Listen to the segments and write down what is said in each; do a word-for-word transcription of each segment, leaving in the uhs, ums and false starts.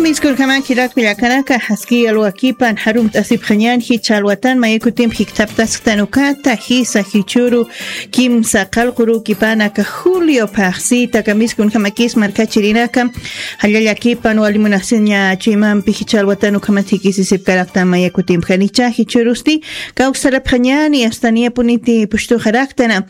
Miskunjama jilat kullakanaka, jaski alwakipan jarumt'asipxañan jichha alwatan mayakutip jikthaptasktan ukata, jisa jichhüru kimsa qallqurukipanaka Julio phaxsita. Aka miskunjamakis markachirinaka, jallallakipan wali munasiña chuymampi jichha alwatan ukhamat jikisisipkaraktan mayakutipxanicha, jichhürusti kawksarapxañani, asta niyapuniti pushtuxaraktana.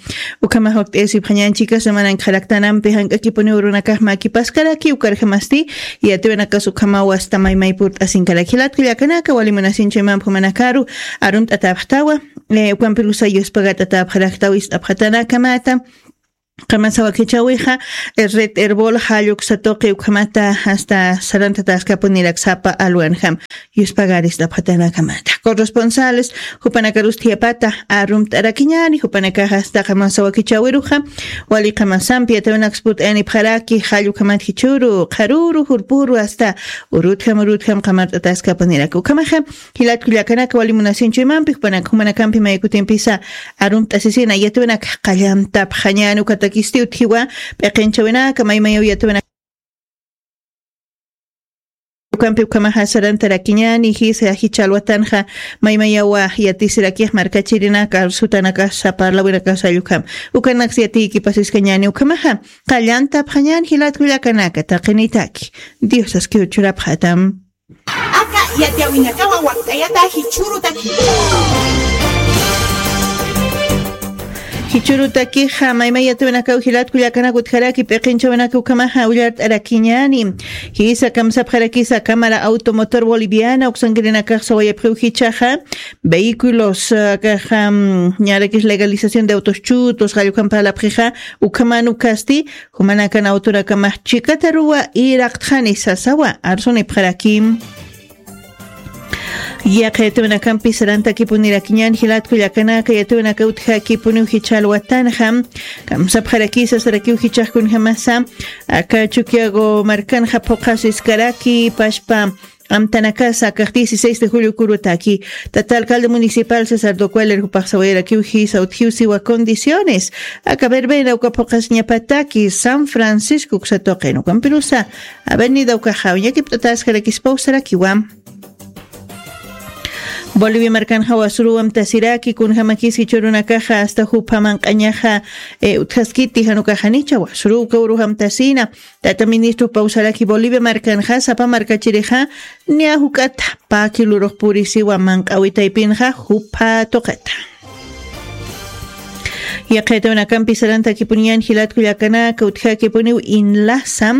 Ukhamax wakt'ayasipxañan chika semanankxaraktanampi jank'akipuniw urunakax makipaskaraki, ukarjamasti yatiwinakas ukhamaw asta maymay purt'asinkaraki. Jilat kullakanaka, wali munasiñ chuymampi jumanakaru arumt'atäpxtawa, eh, ukampirusa yuspagat'atäpxaraktaw ist'apxatanakamata. Qamasa wakichäwixa, eh, Red Erbol jall uksa tuqi ukhamata asta sarantataskapuniraksapa alwanjam. Yuspagarist'apxatanakamata. Corresponsales jupanakarus thiyapata arumt'arakiñani, jupanakax asta qamasa wakichäwiruxa, wali qamasampi yatiwinaksa purt'ayanipxaraki, jall ukhamat jichhüru, qharüru, jurpüru, asta urutjam, urutjam qamart'ataskapuniraki. Ukhamaxa, jilat kullakanaka, wali munasiñ chuymampi, jupanak-, jumanakampi mayakutimpisa arumt'asisina, yatiwinak qallantapxañani, ukatakisti utjiwa p'iqinchäwinaka, maymayaw yatiwinak ukampi ukhamaxa sarantarakiñani, jisa jichha alwatanxa maymayawa yatisirakix markachirinaka, arsutanakasa, parlawinakasa jall ukham. Ukanaksa yatiykipasiskañani ukhamaxa, qallantapxañani jilat kullakanaka, taqinitaki. Diosas kiw churapxatam. Aka yatiyäwinakawa wakt'ayata jichhürutaki. Jichhürutakixa, maymay yatiwinakaw jilat kullakanaka utjaraki p'iqinchäwinaka ukhamaxa ullart'arakiñani. Jisa kamsapxarakisa Cámara Automotor Boliviana uksankirinakax sawayapxiw jichhaxa, vehículos, ah, akaxa, mm, ñarakis legalización de autos chutos, jall ukham parlapxixa, ukhaman ukasti, jumanakan autonakamax chikataruwa iraqtxani sasawa, arsunipxaraki. Yaqha yatiwinakampi sarantakipunirakiñan jilat kullakanaka, yatiwinaka utjakipuniw jichha alwatanxa, kamsapxarakisa sarakiw jichhax kunjamasa, aka Chukiyawu markanxa phuqhasiskaraki, pachpa amtanakasa, akax dieciséis de julio kurutaki. Tata alcalde municipal César Docueler jupax sawayarakiw jisa utjiw siwa condiciones. Aka verbena uka phuqhasiñapataki San Francisco uksa tuqin ukampirusa avenida ukaxa wiñakipt'ataskarakispaw sarakiwa. Bolivia markanxa wasüruw amtasiraki, kunjamakis jichhürunakaxa asta jupha manq'añaxa, eh, utjaskiti, jan ukax janicha wasüruw uka urux amtasina. Tata ministro jupaw saraki, Bolivia markanxa sapa markachirixa niya juk'at pä kilorux purisiwa, manq'awi taypinxa jupha tuqita. Yaqha yatiwinakampi sarantakipuniñan jilat kullakanaka, utjakipuniw INLASA,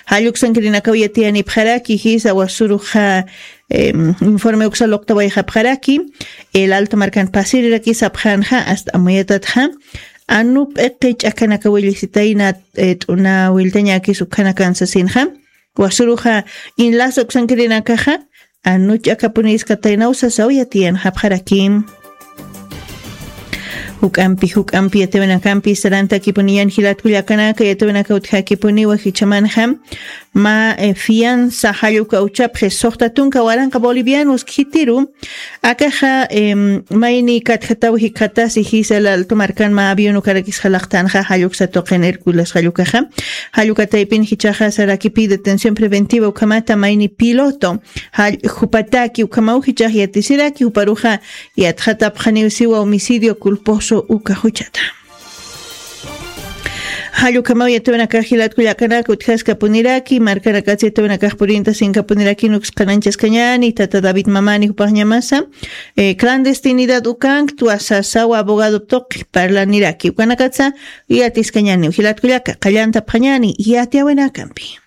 jall uksankirinakaw yatiyanipxaraki, jisa wasüruxa, em, informe uksa luqtawayxapxaraki, El Alto markan pasirirakisapxänxa, asta amuyatatxa, anu p'iqi ch'akanakaw llisitayna, eh, t'una willtañäkis ukhanakan sasinxa, wasüruxa INLASA uksankirinakaxa, anu ch'akapuniskataynaw sasaw yatiyanxapxaraki. Juk'ampi, juk'ampi yatiwinakampi sarantakipuniñan jilat kullakanaka, yatiwinaka utjakipuniwa jichhamanxa, mä, eh, fianza jall uka uchapxi suxta tunka waranqa bolivianos khitiru, akaxa, em, mayni katjataw jikxatasi jisa El Alto markan mä avión ukarakis jalaqtanxa, jall uksa tuqin Hércules jall ukaxa, jall uka taypin jichhaxa saraki pide detención preventiva ukhamata mayni piloto, jall jupataki ukhamaw jichhax yatisiraki, juparuxa yatxatapxaniw siwa homicidio culposo uka juchata. Jall ukhamaw yatiwinakax jilat kullakanaka utjaskapuniraki, markanakats yatiwinakax purintasinkapunirakini uksqananchaskañani, tata David Mamani jupaxñamasa, eh, clandestinidad ukanktwa sasawa abogado tuqi parlaniraki. Ukanakatsa yatiskañaniw jilat kullaka, qallantapxañani yatiyäwinakampi.